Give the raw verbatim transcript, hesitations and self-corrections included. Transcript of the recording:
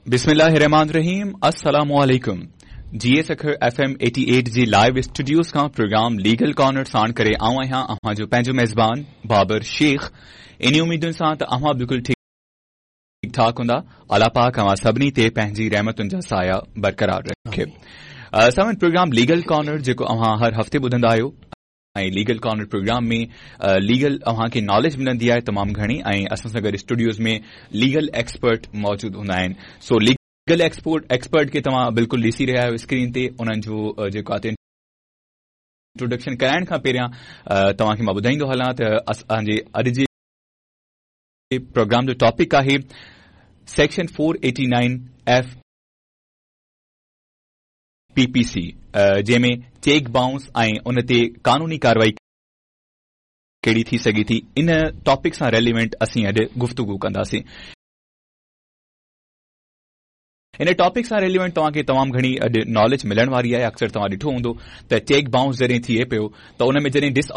बिस्मिल्लाहिर्रहमानिर्रहीम। अस्सलाम वालेकुम। जी सखर एफ एम अठासी जी लाइव स्टूडियोज खां प्रोग्राम लीगल कॉर्नर साण करे आऊं आहियां अव्हां जो पंहिंजो मेज़बान बाबर शेख। इन उम्मीदुनि सां त अव्हां बिल्कुलु ठीक ठाक हूंदा। अलाह पाक अव्हां सभिनी ते पंहिंजी रहमतुनि जा साया बरक़रार रखे। सामन प्रोग्राम लीगल कॉर्नर जेको अव्हां हर हफ़्ते ॿुधंदा आहियो ऐं लीगल कॉर्नर प्रोग्राम में लीगल अव्हांखे नॉलेज मिलंदी आहे तमामु घणी ऐं असां सां गॾु स्टूडियोज में लीगल एक्सपर्ट मौजूदु हूंदा आहिनि। सो लीगल एक्सपर्ट एक्सपर्ट खे तव्हां बिल्कुलु ॾिसी रहिया आहियो स्क्रीन ते, उन्हनि जो जेको आहे इंट्रोडक्शन कराइण खां पहिरियां तव्हांखे मां ॿुधाईंदो हलां त असांजे अॼु जे प्रोग्राम जो टॉपिक आहे section four eighty nine F P P C, जंहिंमें चेक बाउंस ऐं उन ते कानूनी कार्रवाई कहिड़ी थी सघे थी, इन टॉपिक सां रेलिवेंट असीं अॼु गुफ्तगू कंदासीं। इन टॉपिक सां रेलिवेंट तव्हांखे तमामु घणी अॼु नॉलेज मिलण वारी आहे। अक्सर तव्हां ॾिठो हूंदो त चेक बाउंस जॾहिं थिए पियो त उन में जॾहिं डिस